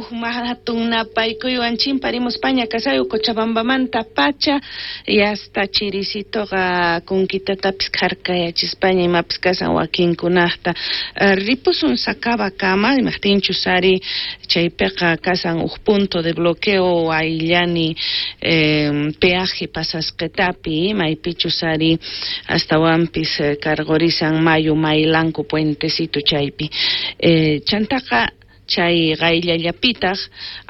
Hatun napaykuywan chimparimuspaña kashayu Cochabambamanta pacha y hasta chirisitoqa kunkitatapis kharkayachispaña imapis kasan wakinkunaqta. Ripusun Sacabakama, imajtinchus ari chaypiqa kasan uj punto de bloqueo ayllani peaje pasasqetapi, maypichus ari astawanpis cargorisan mayu Maylanku puentecito chaypi. Chantaqa chay qayllallapitaq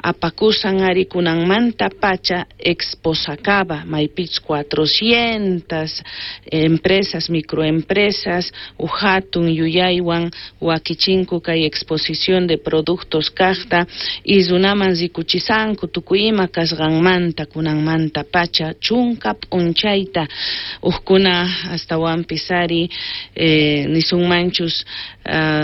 apakusan ari kunanmanta pacha Expo Sacaba, maypich 400 empresas, microempresas, uj hatun yuyaywan wakichinku kay exposición de productos kaqta y runaman rikuchisanku tukuy ima kasqanmanta kunanmanta pacha chunka p'unchayta ujkuna astawanpis ari nisunmanchus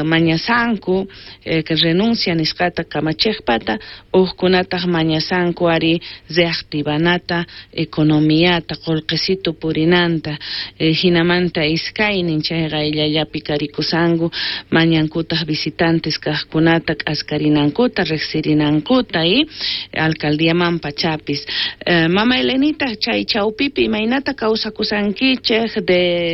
mañasanku renuncia nisqata kamachiqpata, ujkunataq mañasanku ari reactivanata economiata qullqisitu purinanta, hinamanta iskaynin chay qayllallapi karikusanku mañankutaq visitantes kaqkunata k'askarinankuta riqsirinankuta y alcaldiaman pachapis. Mama Elenita, chay chawpipi imaynata kawsakusankichej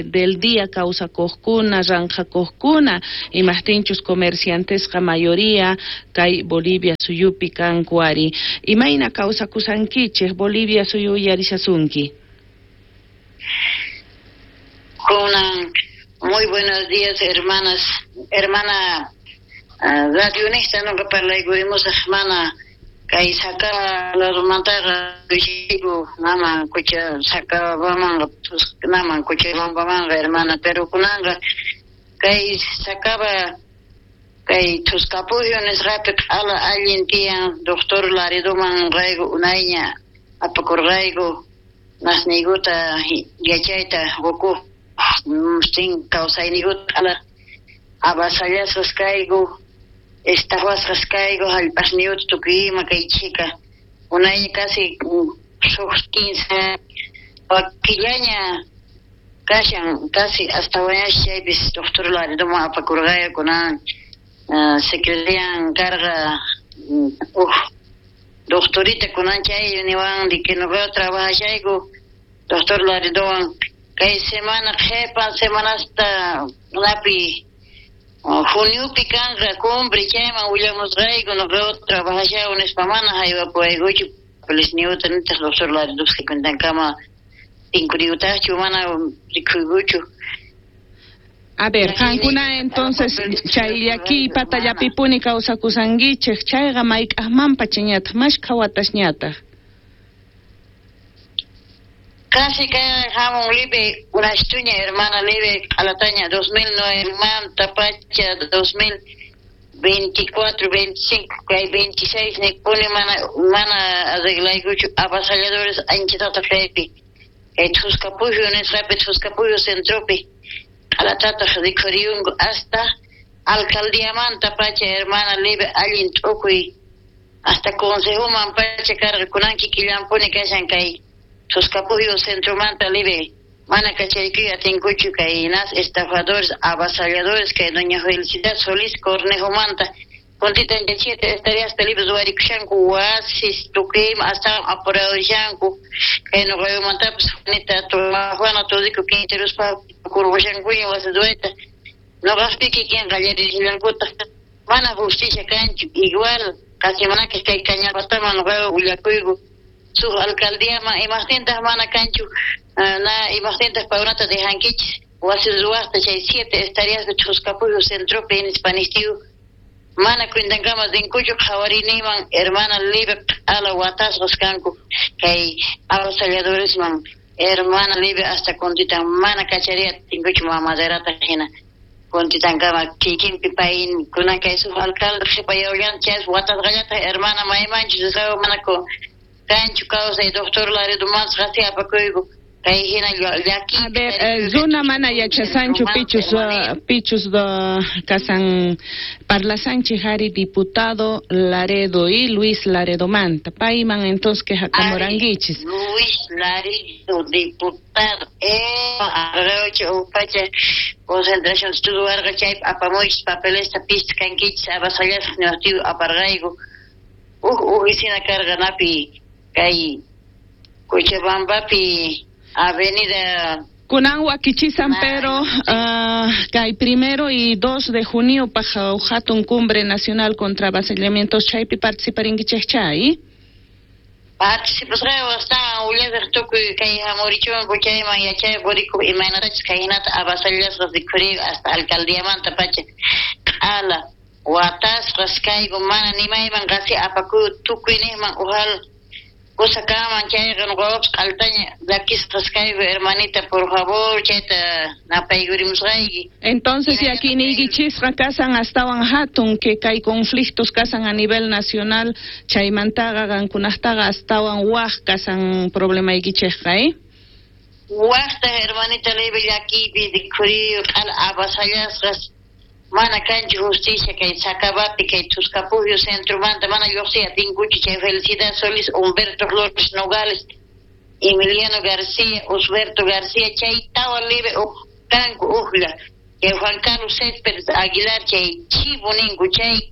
del día kawsakuqkuna ranqhakuqkuna, imajtinchus comerciantesqa mayoría kay Bolivia suyupi kanku ari, imayna kawsakusankichej Bolivia suyu uyarishasunki? Kunan, muy buenos días, hermanas, hermana radionista, nuqa parlaykurimosaq mana kay Sacaba ladomantaqa nama kucha Sacabamanqa naman Cochabambamanqa, hermana, pero kunanqa kay Sacaba kay Thusqapujyu nisqapi q'ala allin tiyan doctor Laredoman rayku unayña apakurqayku nasniykuta yachayta qukuq sin kawsayniykuta q'ala avasallasqas kayku, estafasqas kayku, hallp'asniyuta tukuy ima kay chhika unayña casi suq 15 killaña kashan casi hasta chaypis doctor Laredoman apakurqayku kunan secretarian karqa uj doctorita kunan chay niwan de que nuqa trabajashayku doctor Laredowan kay semana qhipan semanasta napi juniopi kanqa cumbre chayman willamusqayku nuqa trabajashayku nispa mana haywapuwaykuchu papeles nitaq doctor Laredopas cuentankama tinkuriyutaqchu mana rikhuykuchu. A ver, qankuna entonces chay llakiy patallapipuni kawsakusankichej, chayqa mayk'aqmanpachañataq, mashkha watasñataq? Casi kay hamun libe unastuña, hermana libe q'alataña 2009 manta pacha 2024, 25, kay 26 nikpuni mana arreglaykuchu avasalladores anchatataq kaypi kay Thusqapujyu nisqapi Thusqapujyu centropi q'alatataq rikhuriyunku hasta alcaldiamanta pacha, hermana libe allin t'ukuy hasta consejoman pacha karqa kunan kikillampuni kashan kay Thusqapujyu centromanta libe mana kachaykuy atinkuchu kay nas estafadores avasalladores kay doña Felicidad Solís Cornejomanta puntita 7 hectáreas libre ruwarikushanku wasis tukuy ima hasta apuradoshanku kay nuqayumantapis Juanita Juana Todico Quinterospa kurqushankuña wasi ruwayta nuqaqpi kikin qallarishallankutaq mana justicia kanchu igual qasi manakaq kay Cañapataman nuqaqa willakuyku suq alcaldiaman imaqtintaq mana kanchu na imaqtintaq paykunata dejankichis wasi ruwaqta chay 7 hectáreas de Thusqapujyu centropi nispa nishtiyu mana cuentankama rinkuchu qhawariniyman hermana libre q'ala watasqas kanku kay avasalladoresman hermana libre hasta kuntitan mana kachariya atinkuchu mamaderata hina kuntitankama kikinpi pay kunan kay suq alcalde qhipayawllan chay watasqallataq hermana maymanchus risqaku mana kanchu kawsay doctor Laredomantas qasi apakuyku kay hina llaki. A ver, runa mana yachasanchu pichus kasan parlasanchik ari diputado Laredo y Luis Laredomanta payman entonces quejakamurankichis. Luis Laredo diputado pacha concentración ruwarqa chay apamuychis papelesta pista kankichis avasallasaq niwaqtiyu aparqayku. Uj oficina karqa napi kay Cochabambapi avenida. Kunan wakichisan, pero kay 1 y 2 de junio paj hatun cumbre nacional contra avasallamientos chaypi participarinkichej chay. Participasqaywan astawan willasaq tukuy kay hamurichunku chayman yachay purikuq imaynatachus kayhinata avasallasqas rikhuriyku hasta alcaldiamanta pacha q'ala watasqas kayku mana nimayman qasi apakuy tukuy niqman ujal kusa kanman chayqa nuqawapas q'altaña llakisqas kayku, hermanita, por favor, chayta napaykurimusqayki. Entonces llakiyniykichisqa kasan astawan hatun que kay conflictos kasan a nivel nacional chaymantaqa qankunaqtaqa astawan waj kasan problemaykichejqa, eh? Wajta, hermanita, leve llakiypi rikhuriyu q'ala avasallasqas mana kanchu justicia kay Sacabapi kay Tuscapujio centromanta mana lluqsiy atinkuchu chay Felicidad Solís, Humberto Flores Nogales, Emiliano García, Osberto García chay tawa leve uj kanku ujlla chay Juan Carlos Céspedes Aguilar chay chivo ninku chay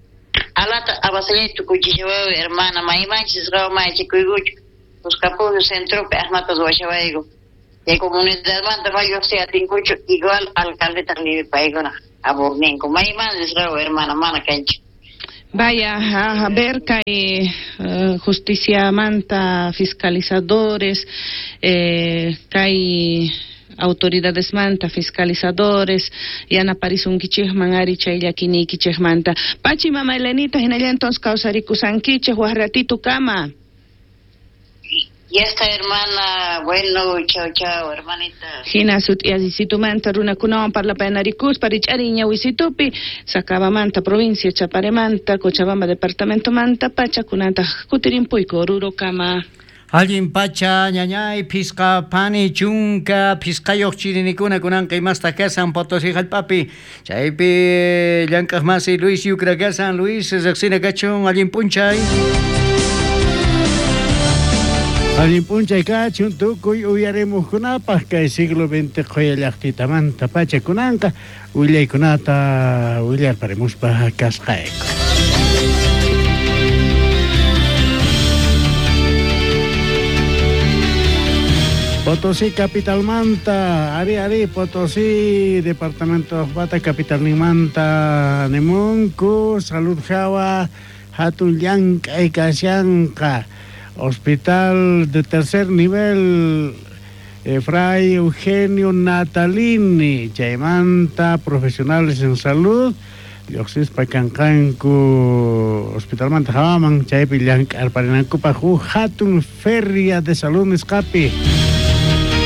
alata avasallay tukuchishawayu, hermana, maymanchis qawa mayachikuykuchu Tuscapujio centropi aqmata ruwashawayku chay comunidadmanta ma lluqsiy atinkuchu igual alcaldetaq libre paykuna aburninku mayman risqawa, hermana, mana kanchu. Vaya, a ver kay justiciamanta fiscalizadores, kay autoridadesmanta fiscalizadores yanaparisunkichikman ari chay llakiniykichikmanta. Pachi mama Elenita, hinalla entonces kawsarikusankichik waj ratito kama. Ya está, hermana. Bueno, chao, chao, hermanita. Hina sut'iyasitumanta runakunawan parlapayanarikuspa rich'ari ñawisitupi Sacabamanta provincia Chaparemanta Cochabamba departamentomanta pacha kunantaq kutirimpuyku Oruro kama. Allin pacha ñañay phisqa phani chunka phisqayuq chirinikuna kunanqa imastaq kasan Potosí hallp'api chaypi llank'aq masi Luis Yucra kasan. Luis, riqsina kachun, allin p'unchay. Allin p'unchay kachun tukuy uyarimuqkunapaq kay siglo XX qhuya llaqtitamanta pacha kunanqa willaykunata willarparimuspa kasqayku. Potosí capitalmanta, ari ari Potosí departamento bata capitalninmanta nimunku salud hawa hatun llank'ay kashanqa hospital de tercer nivel Fray Eugenio Natalini chaymanta profesionales en salud lluqsispa kanqanku hospitalmanta hawaman chaypi llank'arparinankupaq huk hatun feria de salud nisqapi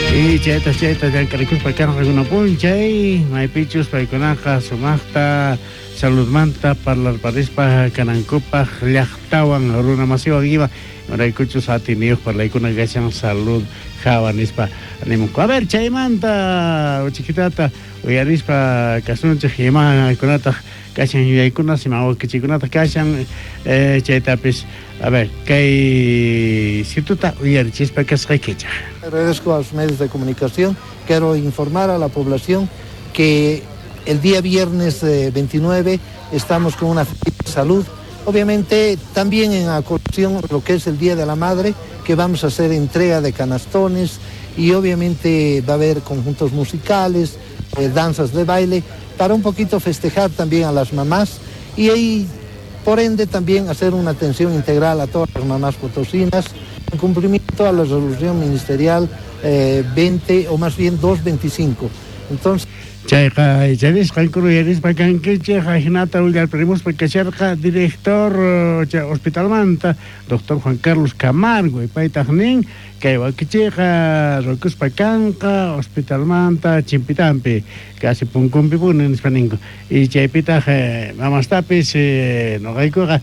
y chayta chayta llank'arikuspa kanqa p'unchay maypichus paykunaqa sumaqta saludmanta parlarparispa kanankupaq llaqtawan runa masiwan ima imaraykuchus atiniyuq parlaykuna kashan salud hawa nispa nimunku. A ver, chaymanta uchikitata uyarispa kasunchik imakunataq kashan yuyaykunas ima wakichikunataq kashan chaytapis a ver kay situta uyarichispa kasqaykichaq. Agradezco a los medios de comunicación. Quiero informar a la población que el día viernes 29 estamos con una feria de salud. Obviamente también en acogida lo que es el Día de la Madre, que vamos a hacer entrega de canastones y obviamente va a haber conjuntos musicales, danzas de baile, para un poquito festejar también a las mamás y ahí, por ende, también hacer una atención integral a todas las mamás potosinas, en cumplimiento a la resolución ministerial 20 o más bien 225. Entonces, Chayqa icharisqanku uyarispa kankichik ajinata willarparimuspa kasharqa director hospitalmanta doctor Juan Carlos Camargo y paytaq nin kay wakichiyqa rukuspa kanqa hospitalmanta chimpitampi casi punkunpi puni nispa ninku y chaypitaq mamastapis nuqaykuqa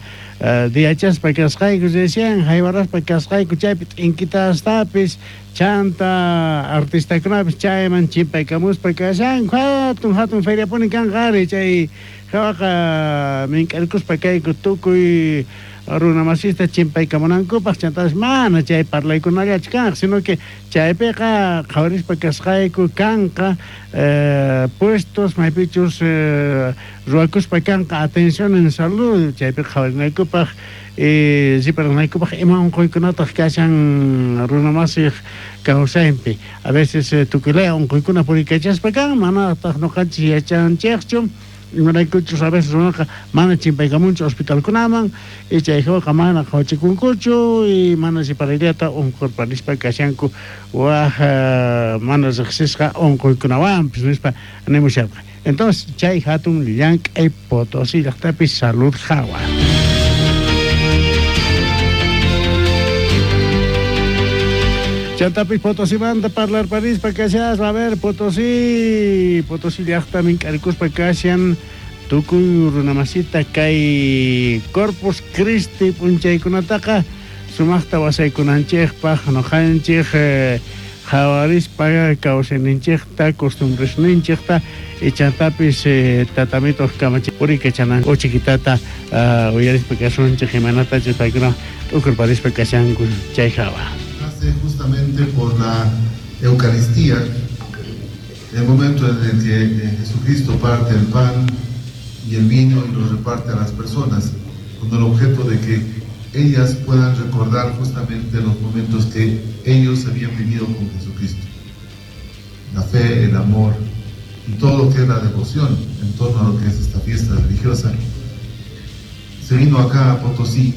diyachaspa kasqayku recién haywaraspa kasqayku chaypi t'inkitastapis chanta artistakunapis chayman chimpaykamuspa kashanku hatun hatun feriapuni kanqa ari chay hawaqa mink'arkuspa kayku tukuy runa masista chimpaykamunankupaq chantapis mana chay parlaykunallachu kanqa sino que chaypiqa qhawarispa kasqayku kanqa puestos maypichus ruwakuspa kanqa atención en salud chaypiqa qhawarinaykupaq. Riparanaykupaj ima unquykunataq kashan runamasiq kawsaypi. A veces tukuylaya unquykuna puriykachaspa kan, manataq nuqanchis yachanchikchu. Imaraykuchus a veces runaqa mana chimpaykamunchu hospitalkunaman, y chay hawaqa mana qhawachikunkuchu y mana riparayllata unqurparispa kashanku waj mana riqsisqa unquykunawanpis nispa nimusharqa. Entonces chay hatun llank'ay Potosí llaqtapi salud hawa. Chantapis Potosimanta parlarparispa kashaspa, a ver, Potosí, Potosí llaqta mink'arikuspa kashan tukuy runamasita kay Corpus Christi p'unchaykunataqa sumaqta wasaykunanchikpaq nuqanchik qhawarispa kawsayninchikta, costumbresninchikta y chantapis tatamituq kamachi puriykachanan uchikitata uyarispa kasunchik imaynatachus paykuna t'ukurparispa kashanku chay hawa. Nace justamente por la Eucaristía, el momento en el que Jesucristo parte el pan y el vino y los reparte a las personas, con el objeto de que ellas puedan recordar justamente los momentos que ellos habían vivido con Jesucristo. La fe, el amor y todo lo que es la devoción en torno a lo que es esta fiesta religiosa. Se vino acá a Potosí